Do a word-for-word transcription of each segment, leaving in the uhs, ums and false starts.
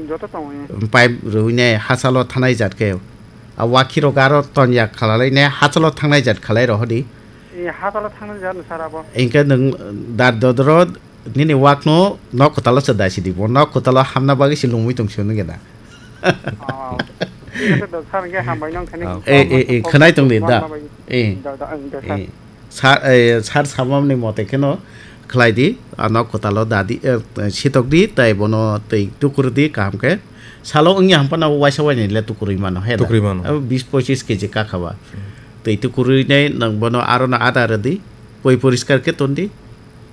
Joto tongo, eh. Pipe rwinai hachalo thanai jat khe. A wakhi rok aro tonya khalalai ne hachalo thangnai jat khalai rohodi. Eh, hachalo thangnai jat no sir abo. Inke nwng dar dodro nini wakno nok kwtalo se daisi di. Bo nok kwtalo hamna bagwi se lungwi tong sio nungya da. Oh. Sir, nge hambai nang khani. Oh. Eh, eh, eh, khwnai tong di da. Eh. Da, da, da, sir. Eh. Sar, eh, sar samamni mote kheno khlai di, ano kwtalo dadi, eh, sitok di, tai bono twi tukur di kaham khe. Salo wngya hampano waisa waini le tukurwi mano, he da? Tukurwi mano. Abo bis pochis keji kakha ba. Hmm. Twi tukurwi nai nang bono aro no ada rwdi, poi poriskar khe ton di,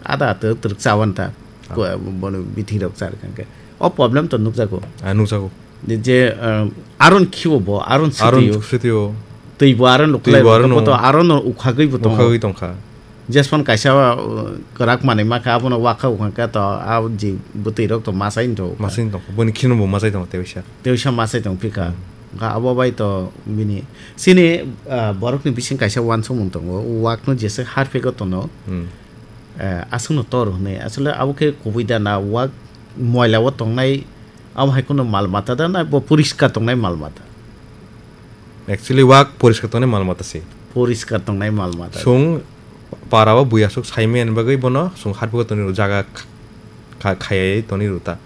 ada to twrwk chawan ta. Ah. Ko, bono bithi rok char khan khe. O problem to nukjago. Ah, nukjago. Je, eh, aron khibo bo, aron Aron sitio. Sitio. Twi bo aron Twi luklai bo bo, aron bo to no. Aron no ukhagwi bo tongo. Ukhagwi tongkha. Jespan kaisa, uh, kwrak manwi makha, abono wakha ukhangkha to, a ji bwtwi rok to masai tongo. Masai tongo. Boni khino bo masai tongo tewisa. Tewisa masai tong phika. Hmm. Ga abo bai to bini. Sini, uh, borokni bising kaisa wansukmung tongo. Wakno jese harphego tono. Hmm. Eh, aswkno tor hwnwi. Asole abo khe kubui da na, wak moila o tongnai, abo hai kheno mal mata da na, bo poriskar tongnai mal mata? Actually, wak poriskar tongnai mal mata se. Poriskar tongnai mal mata. Chwng para o bui aswk sai manya bagwi bono chwng harphego tonwi rw jaga kha-, kha-, khayai tonwi rw ta.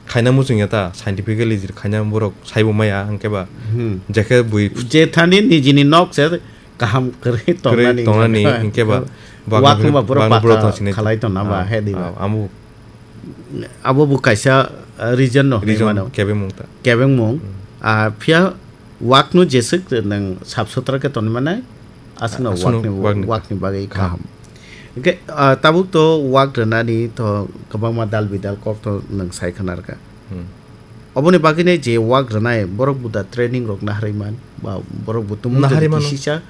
Khaina muchung ya ta, scientifically jil khaina borok saibo maya, hwnkhe ba Hmm. je khe bui Je thani nijini nok se kaham kwrwi Kwrwi tongnani tongnani, hwnkhe ba, Wak bakno hwnba borok bakno borok baka tongsinai khalai tongna ba, Ah, he di ba. Ah, amo Abo bo kaisa, ah, reason no hwnwi Reason mano. Kebengmung ta. Kebengmung. Hmm. Ah, phiya wakno jeswk nwng sap sutra khe tonwi manai, aswkno Aswkno wakni, wakni. Wakni bagwi Kaham. Kaham. Hwnkhe, ah, tabuk to wak rwnani to kwbangma dal bidal kok to nwng sai khna rwkha. Hmm. Oboni bagwino je wak rwnai, borok bo da training rok naharwi man, ba borok bo tumung Naharwi mano. Kisisa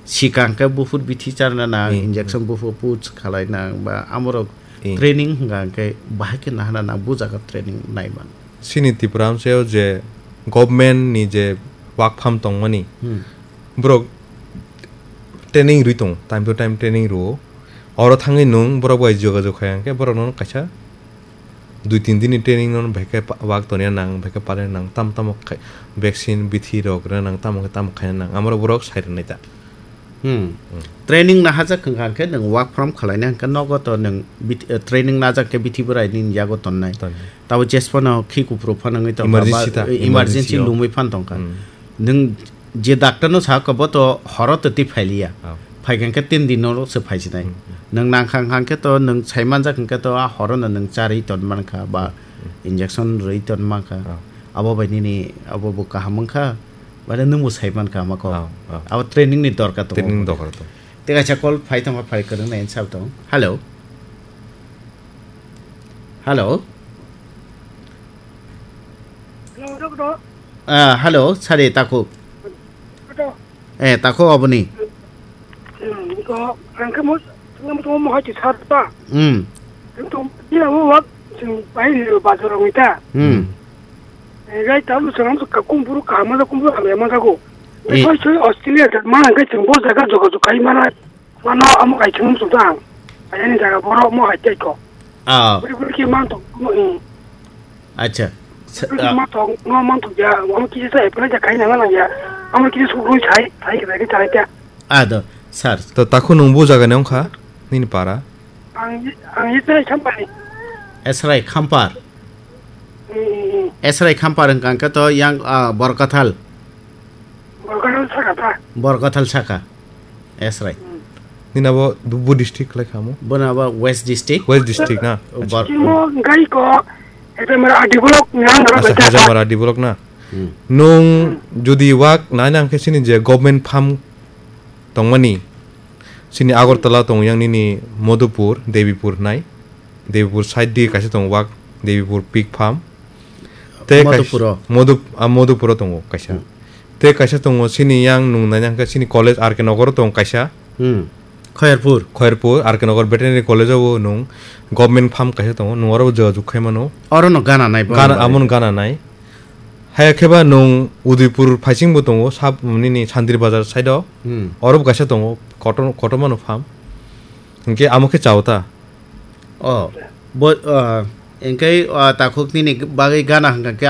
sikang khe buphur bithi charna nang, Hmm. Injection buphur puts khalai nang, ba amorok Hmm. Training hwnka hwnkhe bahai khe nahana nang, bo jaga training nai man. Chini Tipra amchaio je government ni je wak farm tongmani, Hmm. borok training rwi tongo, time to time training rwo. Oro thangwi nwng borok bai jogajog khai hwnkhe borokno kaisa dui tin dini training no bhai khe pa-, wak toniya nang, bhai khe palina nang, tamo tamo khai, vaccine bithi rok rwna nang, tamo khe tamo khaina nang, amorok borok sai rwnai ta. Hmm. Hmm. Training nahajak hwnkha hwnkhe nwng work from khwlaina hwnkhe nogo to nwng bit-, eh, training najak khe bithi bwrai nini yago tonnai. Tonnai. Tabo jesphano khi kuphuru phano wngwi tongkha, Emergency ba, ta, eh, emergency emergency o. Lumwi phan tongkha. Hmm. Nwng je doctor no sakha bo to horo to twi phailiya. Oh. Phaikha hwnkhe tin din no se phaisinai. Hmm, hmm. Nwng nangkha hwnkha hwnkhe to nwng saimanjak hwnkhe to a horo no nwng charwi ton mankha ba Hmm, hmm. Injection rwi ton mankha. Oh. Abo bai nini abo bo kaham wngkha. Mane nwng bo sai mankha ama kok. Oh, oh. Abo training ni dorkar tongo. Training ni dorkar tongo. Tei kaisa call phai tongkha, phai kwrwng nai sab tong. Hello. Hello. Hello, doctor. Ah, hello, sari takhuk. Doctor. Eh, takhuk oboni. Hmm, ko, ang kamo, ang kamo mo hai sar ta. Hmm. Ang to, dia mo wak, sing pai ni bazar ngi ta. Hmm. Eh, gai ta lu seram ka kumburu ka ma kumburu ka ma ko. Eh. Soi soi Australia ta ma ngai sing bo jaga joga joga kai mana. Mano amo kai thum su dang. Ayani jaga borok mo hai tei ko. Ah. Buri buri ki man to mo, eh. Acha. Sa-, Buri ki ah. Man to, no man to ya, amo kisi sa apply ja kai na na ya. Amo kisi su rui sai, sai ki sai ki sai ta. Ah, do, sir. To takhuk nwng bo jaga ni wngkha, nini para? Ang, ang ye sai champa ni. Esrai Khampar. Hmm, hmm, hmm. Esrai Khampar wngkha hwnkhe to yang, ah, Borkathal. Borkathal saka ta. Borkathal saka. Esrai. Hmm. Nini abo bu, bu district khlai kha mo? Bono abo West District. West District na? Oh, Bor- Chimo gai ko, ete mara adi block nang ro Asa beta. Hajar mara adi block na? Hmm. Nung Hmm. Jodi wak nai nang khe sini je government farm tongmani. Sini Agartala tong yang nini Madhupur, Debipur nai. Debipur side di kaisa tong wak, Debipur pig farm. Tei kais-, Madhupuro. Madhup-, ah, Madhupuro tongo kaisa. Hmm. Tei kaisa tongo sini yang nung nai nang khe sini college R K Nagar tong kaisa. Hmm. Khoyerpur. Khoyerpur, R K Nagar Veterinary College o nung government farm kaisa tongo, nung oro jogajog khai mano. Oro no gana nai bo Gana, nai. Amon gana nai. Haya khe ba nwng Udaipur phaising bo tongo, sab nini Sandri Bazar side o. Hmm. Oro bo kaisa tongo, kotor-, kotorma no farm. Hinkhe amo khe chao ta. Oh, bo, ah, hinkhe, ah, takhuk nini bagwi gana hwnkha khe